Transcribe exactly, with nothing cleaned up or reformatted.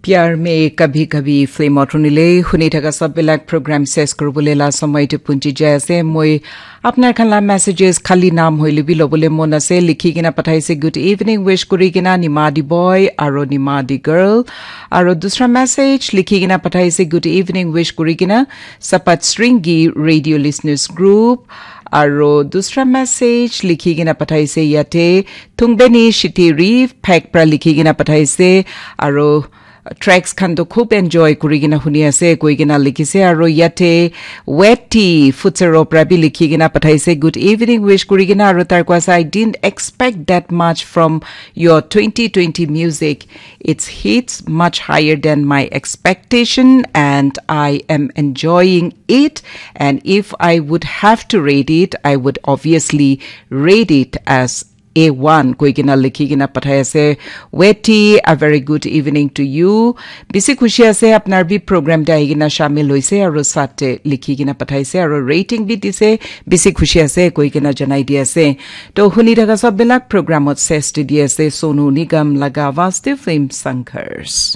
Pyar Mein Kabhi Kabhi film ot hunile, huni thaka sab bilak program ses kuribole la samay tu punchi jai ase. Moi apnar khan la messages khali naam hoile bi lobole mon ase. Likhi kena pathaise, "Good evening," wish kuri kena Nimadi boy aro Nimadi girl. Aro dusra message likhi kena pathaise, "Good evening," wish kuri kena Sapat Sringi Radio Listeners Group. Aro dusra message likhi kena pathaise yate Thungbeni Shitiri Phek pra likhi kena pathaise. Aro tracks khan to khub enjoy kuri kena huni ase koi kena likhi se. Aro yate Weti Futsero pra bi likhi kena pathaise, "Good evening," wish kuri kena. Aro tar kwa sa, "I didn't expect that much from your twenty twenty music. It's hits much higher than my expectation, and I am enjoying it. And if I would have to rate it, I would obviously rate it as A one," koi kena likhi kena pathai ase. Weti, a very good evening to you. Bisi khushi ase, apnar bi program te ahi kena shamil hoise, aro sate likhi kena pathaise, aro rating bi dise, bisi khushi ase koi kena janai di ase. To huni thaka sab bilak program ot ses di di ase, Sonu Nigam laga Vaste Film Sanghars.